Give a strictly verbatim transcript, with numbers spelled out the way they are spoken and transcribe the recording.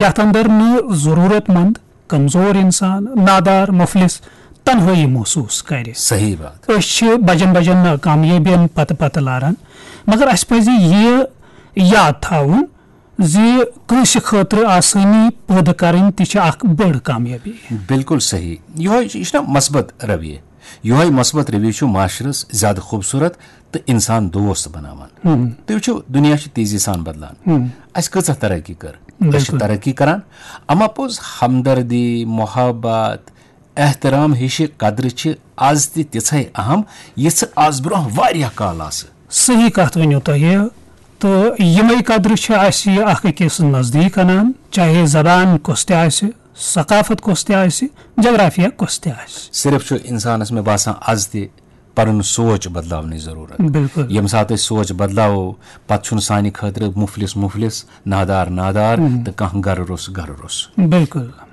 یتھ اندر نہٕ ضروٗرت مند، کمزور انسان، نادار، مفلس تنہٲیی محسوس کرِ۔ صحیح بات۔ أسۍ چھِ بجن بجن ناکامیٲبین پتہٕ پتہٕ لاران، مگر اسہِ پزِ یہِ یاد تھاوُن زِ کٲنٛسہِ خٲطرٕ آسٲنی پٲدٕ کرٕنۍ تہِ چھِ اکھ بٔڑ کامیٲبی۔ بالکل صحیح۔ یہوے چھُ، یہِ چھُنہ مثبت رویہ۔ یہوے مثبت رویہ چھُ معاشرس زیادٕ خوبصورت تہٕ انسان دوست بناوان۔ تُہۍ وٕچھِو، دُنیا چھُ تیزی سان بدلان۔ اسہِ کۭژاہ ترقی کٔر؟ أسۍ چھِ بِلکُل۔ ترقی کران، اما پوٚز ہمدردی، محبت، احترام ہِشہِ قدرٕ چھِ از تہِ تِژھے اہم، یِژھٕ از برونٛہہ واریاہ کال آسہٕ۔ صحیح کتھ ؤنِو تۄہہِ، تہٕ یِمے قدرٕ چھِ اسہِ اکھ أکِس نزدیٖک انان، چاہے زبان کۄس تہِ آسہِ، ثقافت کۄس تہِ آسہِ، جغرافیہ کۄس تہِ آسہِ۔ صرف چھُ انسانس، مےٚ باسان، از تہِ پنُن سونچ بدلاونٕچ ضروٗرت۔ بِلکُل۔ ییٚمہِ ساتہٕ أسۍ سونچ بدلاوو، پتہٕ چھُنہٕ سانہِ خٲطرٕ مفلس مفلس، نادار نادار تہٕ کانٛہہ گرٕ روٚس گرٕ روٚس۔ بِلکُل۔